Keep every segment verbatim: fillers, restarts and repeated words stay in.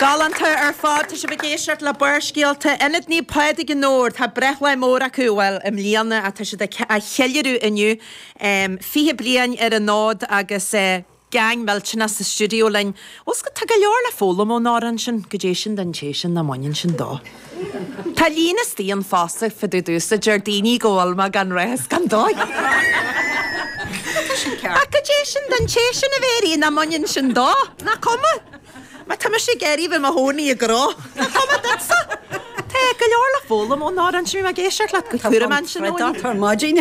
Galánta ar fad tá sibh ag éisteacht le Barrscéalta Ionad Naomh Pádraig i nDobhar tá breithlá mór acu bhuel i mbliana atá siad á cheiliúradh inniu fiche bliain ar an fhód agus gang millteanach sa stiúideo linn. Bhfuil tá go leor le foghlaim ón amhrán sin goidé sin don té sin nach mbaineann sin dó. Tá líon istigh an fosta fá dtaobh domhsa deir daoine go bhfuil mé gan rath is gan dóigh. Ach goidé sin don té sin a Mhéirí nach mbaineann sin dó, nach cuma? Má tá mise ag iarraidh bheith i mo chónaí i gcró, nach cuma duitse? Tá go leor le foghlaim ón amhrán sin bhí mé ag éisteacht leat go cúram ansin Tá maidin.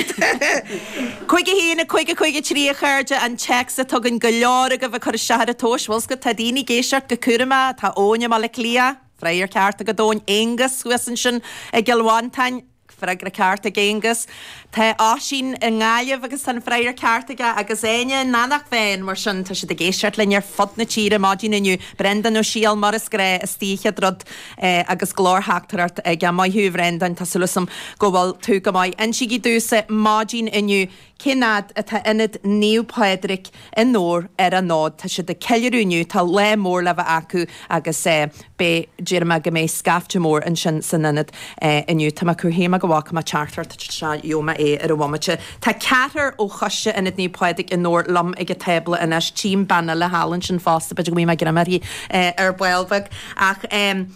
Cúig a haon a cúig a cúig a trí a chairde an téacs a tugann go leor agaibh ag cur isteach ar an tomhas bhfuil go tá daoine ag éisteacht go cúramach tá Eoin i mBaile Átha Cliath, Freagra ceart agat Eoin Aonghus thuas ansin i gCill Mhantáin, freagra ceart ag Aonghus. Tá Oisín i nGaillimh agus tá an freagra ceart aige agus Áine in Eanach Mheáin mar sin tá siad ag éisteacht linn ar fud na tíre maidin inniu. Brendan Ó Siadhail mar is gnách istigh chéad rud eh, agus glórtheachtaireacht ag maith thú Bhrendan tá súil agam go bhfuil tú go maith. Insígí domhsa maidin inniu cén fhad atá Ionad Naomh Pádraig i nDobhar ar an fhód. Tá siad ag ceiliúradh inniu tá lá mór le bheith acu agus eh, be deir mé go mbeidh scaifte mór ansin san ionad eh, inniu. Tá mé cur chéime go bhfaca mé teachtaireacht seo gheobhaidh mé é ar an bhomaite. Tá ceathrar ó choiste Ionad Naomh Pádraig i nDobhar liom ag an tábla anois tím bean eile thall ansin fosta b'fhéidir go mbeidh mé greim uirthi eh, ar ball beag ach um,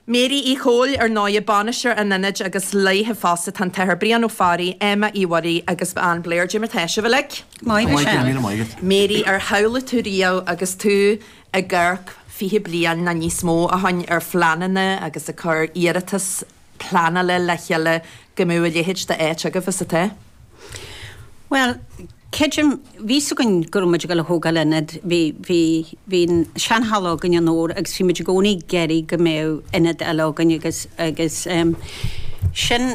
Mary Uí Chóil ar ndóigh bainisteoir an ionaid agus léithe fosta tá an tAthair Brian Ó Fearraigh, Emma Uí Mhuirí agus Ann Blair Jim tá sibh uilig. Maith Mary ar shamhlaigh tú riamh agus tú ag amharc fiche bliain nó níos mó ó shin ar phleananna agus ag cur iarratas pleanála le chéile go mbeadh a leithéid d'áit agaibh is atá. Well, creidim bhí againn go raibh muid ag dul a thógáil ionad bhí bhí bhí seanhalla againn i nDobhar agus bhí muid i gcónaí ag iarraidh go mbeadh ionad eile againn agus agus um, sin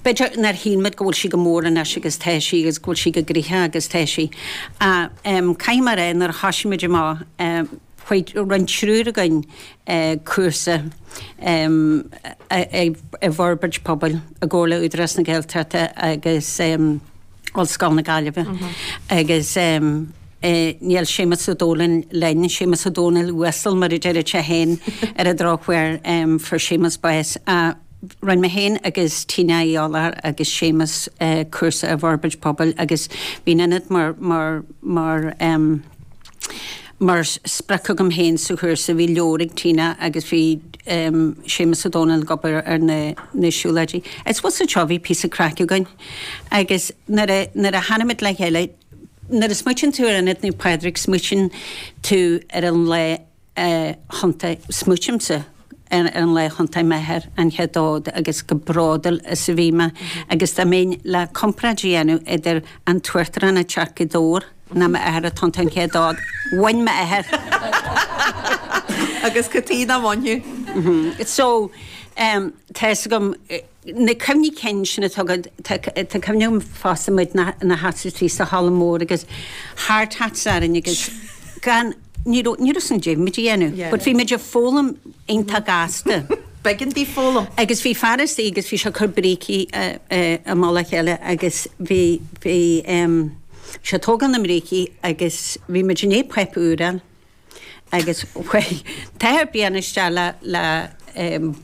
b'fhéidir nár shíl muid go bhfuil sí go mór anois agus tá sí agus go bhfuil sí go gnoitheach agus tá sí. Uh, um, Caithfidh mé a rá nuair a thosaigh muid amach um, chuaigh rinne triúr againn uh, cúrsa um, i bhforbairt pobail i gcomhar le Údarás na Gaeltachta agus um, Ollscoil na Gaillimhe mm -hmm. agus um, eh, níl Séamus Ó Dónaill linn Séamus Ó Dónaill uasal mar a deir sé féin ar an drochuair um, fuair Séamus bás. Uh, Rinne mé féin agus Tina Eolar agus Séamus uh, cúrsa i bhforbairt pobail agus bhí ionad mar mar mar um, mar sprioc agam féin sa chúrsa bhí leabhar ag Tina agus bhí um, Séamus Ó Dónaill ag obair ar na, na siúlóidí. Is was seo bhí píosa craic againn. Agus nuair a nuair a tháinig muid le chéile nuair a smaoiníonn tú ar Ionad Naomh Pádraig smaoiníonn tú ar an lá uh, thiontaigh smaoinímse ar an lá thiontaigh m'athair an chéad fhód agus chomh bródúil is a bhí mé agus dá mbeinn le comparáid a dhéanamh idir an tUachtarán ag teacht go Dobhar ná m'athair ag tiontú an chéad fhód. Bhain m'athair. Agus cad chuige nach mbainfeadh. So um, tá gom na cuimhní cinn sin atá tá cuimhne fosta muid na na hataí sa halla mór agus hard hats orainn agus gan ní ní san dé muid dhéanamh, but bhí muid ag foghlaim iontach gasta. B'éigean di foghlaim. Agus bhí fear istigh agus bhí sé ag cur brící i mullach a chéile agus bhí bhí um, sé tógáil na mbrící agus bhí muid in é peip úrán agus tá blian isteach le le um,